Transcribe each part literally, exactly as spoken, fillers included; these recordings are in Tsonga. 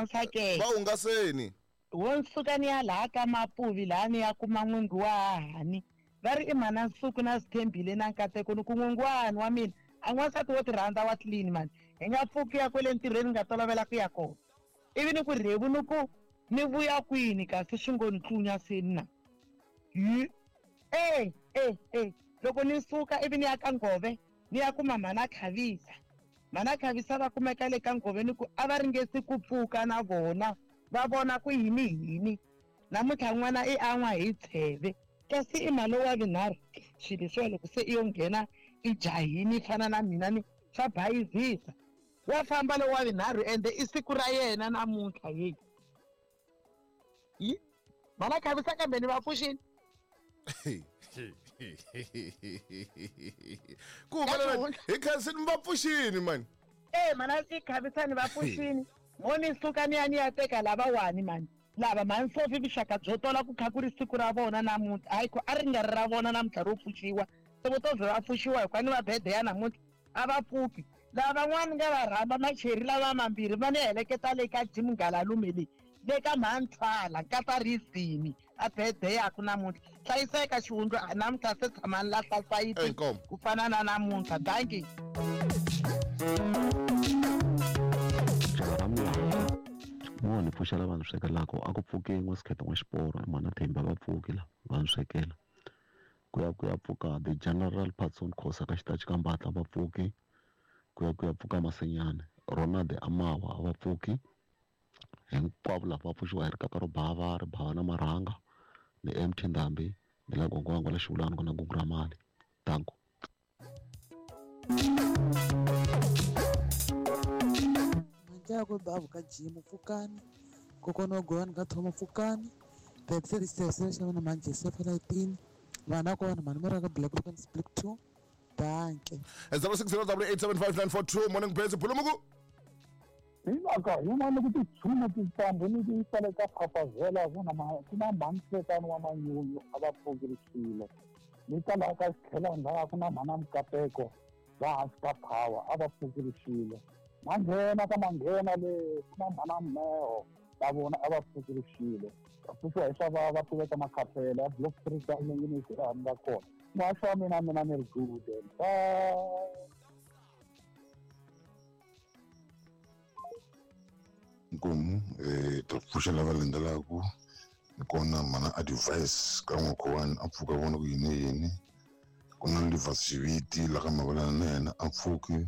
Nsake. Va hungaseni. Wo nsuka ni ya laha ka Mapuvi laha ni ya kuma n'wingi wa hahani. Va ri i mhana Nsuku na Sithembile na Nkateko ni ku n'wingi wa hahani wa mina a n'wansati wo ti rhandza wa clean mani. Hi nga pfuki ya kwele ntirhweni nga tolovela ku ya kona. Ivi ni ku rhevu ni ku ni vuya kwini kasi swi ngo ni tlunya seni na. Hi eh eh eh loko ni suka ivi ni ya ka Ngove ni ya kuma mhana Khavisa. Mhana Khavisa va kumeka le ka Ngove ni ku a va ringesi ku pfuka na vona va vona ku yini yini. Namuntlha n'wana i an'wa hi tsheve kasi i mhani wa vunharhu swilo leswiwa loko se i yo nghena i jahini i fana na mina ni swa bayizisa. Wa famba lowu wa vunharhu ende i siku ra yena namuntlha yeyi. Yi mhana Khavisa kambe ni va pfuxini. Ku humelela hi khansini va pfuxini mani. Eh mhana i Khavisa ni va pfuxini. Mo ni suka ni ya ni ya teka lavawani mani. Lava mhani Sophie vuxaka byo tola ku kha ku ri siku ra vona namuntlha. Hayi ku a ri nga ri ra vona namuntlha ro pfuxiwa. Se vo to ze va pfuxiwa hikuva ni va bede ya namuntlha a va pfuki. Lava van'wani nga va rhamba macheri lava mambirhi va ni heleketa le ka Jim Ngalalume le le ka mhani Thwala nkata Rizini a bede yaku namuntlha. Hlayiseka xihundla namuntlha se tshamani lahla sayiti ku fana na namuntlha. Dankie. Mo ni pfuxela vanhu swekelaka a ku pfuki n'wasikhetho n'wa xiporo mhana Themba va pfuki la va swekela ku ya ku ya pfuka the General Patson Khosa ka xitachi ka Mbatla va pfuki ku ya ku ya pfuka Masenyane Ronald Amawa va pfuki hinkwavo lava va pfuxiwa hi rikaka ro bava ri bava na marhanga ni M T Ndhambi ni la gongwango la xivulani ku na gugu ra mali danko. Manjako babu ka Jim pfukani kokwana wa Goyani ka Thoma pfukani Pepsi Sese xa na manje sefa nineteen vana kona mani mara ka Black Rock and Split two danke. zero six zero eight seven five nine four two morning Base Pulumuku. Hi mhaka yin'wana ku tichuma tintambu ni ti yisa le ka Phapazela ku na ku na mhani wa Manyunyu a va pfukerisile ni ta laha ka Xikhelani laha ku na mhana Mukateko va hansi ka Power a va pfukerisile manghena ka manghena le ku na mhana Mmeho va vona a va pfukerisile va pfuxiwa hi swa va va pfuleka makhaphela ya block three ka ni laha ni nga kona muhaxi wa mina mina ni ri good bye. Nkomu eh ta pfuxela va landzelaka ni kona mana advice ka n'wakhowani a pfuka vona ku yini yini ku na Livers Xiviti la ka Mavalana na yena a pfuki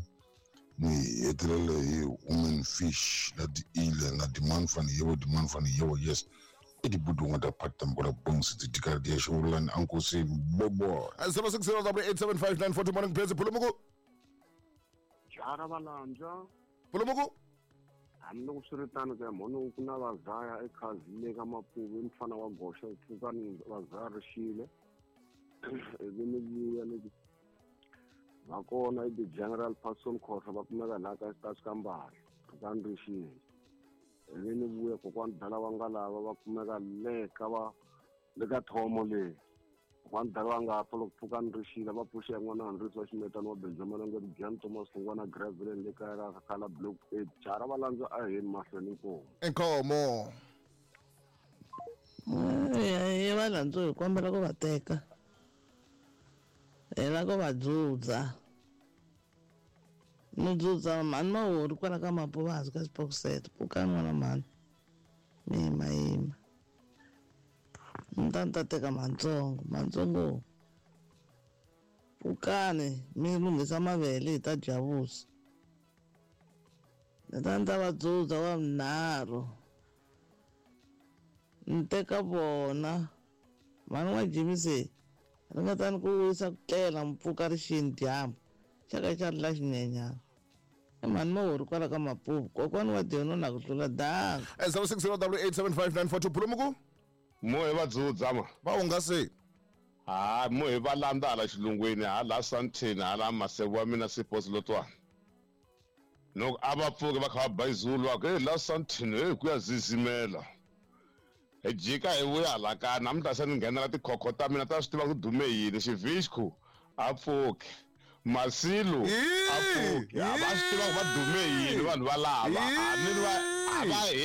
ni hetelela hi woman fish la di ile na demand fan yewo demand fan yewo yes i dibudu nga ta pata mkola bongs ti tikari dia xivulani ankosi bobo zero six zero eight seven five nine four two morning Base Pulumuku Jara valandza Pulumuku hambiloko swi ri tano ka mhani ku na vazaya ekhazini ka Mapuvi mfana wa goxa pfukani vazaya rixile ivi ni vuya ni va kona i the General Patson Khosa va kumeka laha ka xitachi ka Mbali pfukani rixile ivi ni vuya kokwani dala wa nga lava va kumeka le ka va le ka Thomo le kokwani dala wa nga pfa loko pfukani rixile va pfuxa n'wana Henri wa Ximetani wa Benjamin nga Jan Thomas Hlongwana Gravelin le kaya ra Khala Block eight jara va landza a heni mahlweni inkomu inkomo eh va landza hi kombela ku va teka hi la ku va dzudza no dzudza mhani Mahori kwala ka Mapuvazi ka Xipokisete pfukani n'wana mhani mi yima yima ni ta ni ta teka mantsongo mantsongo pfukani mi lunghisa mavele hi ta dya vuswa ni ta ni ta va dzudza wa vunharhu ni teka vona mhani wa Jimmy se ringetani ku wisa ku tlela mpfuka rixini dyambu xa ka xa ri la xinyenyana i mhani Mahori kwala ka Mapuvu kokwani wa Diono na ku tlula danka zero six zero eight seven five nine four two Pulumuku mo hi va dzudza ma va hungasi ha mo hi va landza hala xilungwini hala Sandton hala Masevu wa mina Sipos Lotwana loko a va pfuki va kha va ba izulu va ku hey la Sandton hey ku ya zizimela hi jika hi vuya hala ka namuntlha se ni nghenela tikhokho ta mina ta swi tiva ku dume yini Xivixku a pfuki Masilu a pfuki a va swi tiva ku va dume yini vanhu va lava a ni va A va hembi.